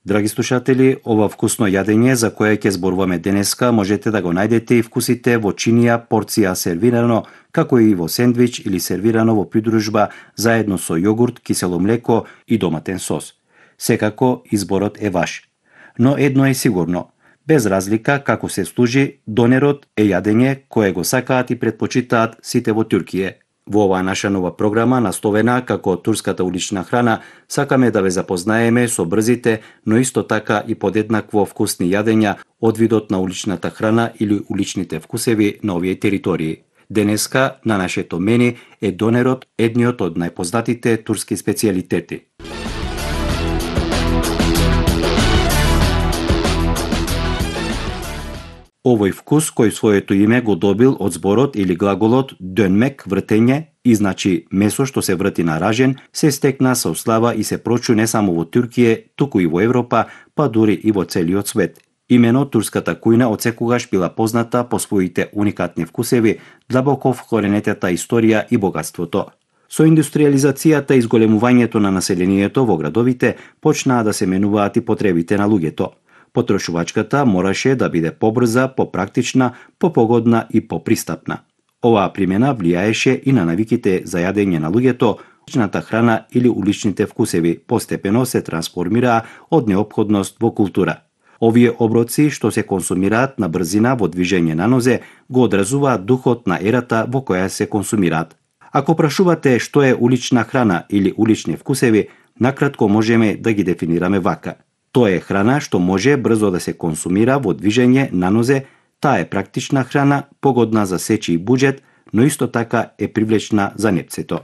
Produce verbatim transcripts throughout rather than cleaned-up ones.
Драги слушатели, ова вкусно јадење за кое ќе зборуваме денеска можете да го најдете и вкусите во чинија порција сервирано, како и во сендвич или сервирано во придружба заедно со јогурт, кисело млеко и доматен сос. Секако изборот е ваш. Но едно е сигурно, без разлика како се служи, донерот е јадење кое го сакаат и предпочитаат сите во Туркија. Во оваа наша нова програма, насловена како турската улична храна, сакаме да ве запознаеме со брзите, но исто така и подеднакво вкусни јадења од видот на уличната храна или уличните вкусеви на овие територии. Денеска на нашето мени е донерот, едниот од најпознатите турски специјалитети. Овој вкус, кој своето име го добил од зборот или глаголот дönmek, вртење, и значи месо што се врти на ражен, се стекна со слава и се прочу не само во Туркија, туку и во Европа, па дури и во целиот свет. Имено турската кујна одсекогаш била позната по своите уникатни вкусеви, длабоко вкоренетата историја и богатството. Со индустриализацијата и изголемувањето на населението во градовите, почнаа да се менуваат и потребите на луѓето. Потрошувачката мораше да биде побрза, попрактична, попогодна и попристапна. Оваа примена влијаеше и на навиките за јадење на луѓето, уличната храна или уличните вкусеви постепено се трансформираа од неопходност во култура. Овие оброци што се консумираат на брзина во движење на нозе го одразуваат духот на ерата во која се консумираат. Ако прашувате што е улична храна или улични вкусеви, накратко можеме да ги дефинираме вака. Тоа е храна што може брзо да се консумира во движење на нозе, таа е практична храна, погодна за сечи и буџет, но исто така е привлечна за непцето.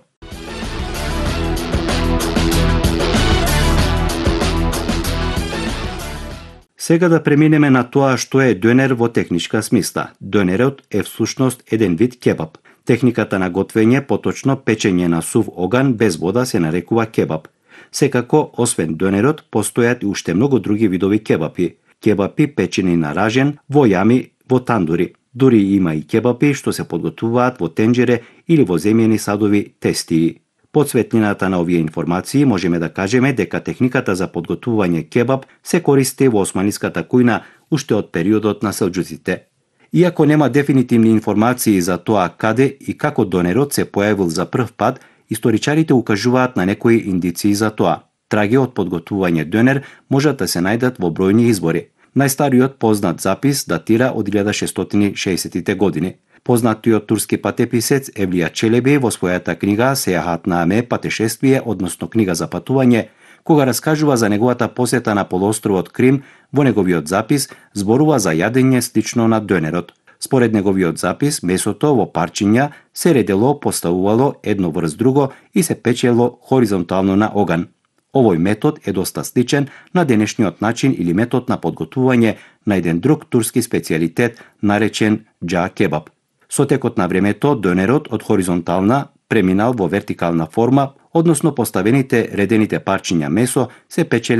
Сега да преминеме на тоа што е дönер во техничка смисла. Дönерот е всушност еден вид кебаб. Техниката на готвење, поточно печење на сув оган без вода, се нарекува кебаб. Секако, освен дönерот, постојат и уште многу други видови кебапи. Кебапи печени на ражен, во јами, во тандури. Дури има и кебапи што се подготвуваат во тенџере или во земјени садови тестии. Под светлината на овие информации можеме да кажеме дека техниката за подготвување кебаб се користи во османиската кујна уште од периодот на селџуците. Иако нема дефинитивни информации за тоа каде и како дönерот се појавил за прв пат, историчарите укажуваат на некои индиции за тоа. Траги од подготвување дönер можат да се најдат во бројни избори. Најстариот познат запис датира од илјада шестстотини и шеесеттите години. Познатиот турски патеписец Евлија Челеби во својата книга Сејахат наме патешествие, односно книга за патување, кога раскажува за неговата посета на полуостровот Крим, во неговиот запис зборува за јадење слично на дönерот. Според неговиот запис, месото во парчиња се редело, поставувало едно врз друго и се печело хоризонтално на оган. Овој метод е доста сличен на денешниот начин или метод на подготвување на еден друг турски специјалитет наречен џа кебаб. Со текот на времето, дönерот од хоризонтална преминал во вертикална форма, односно поставените редените парчиња месо се печеле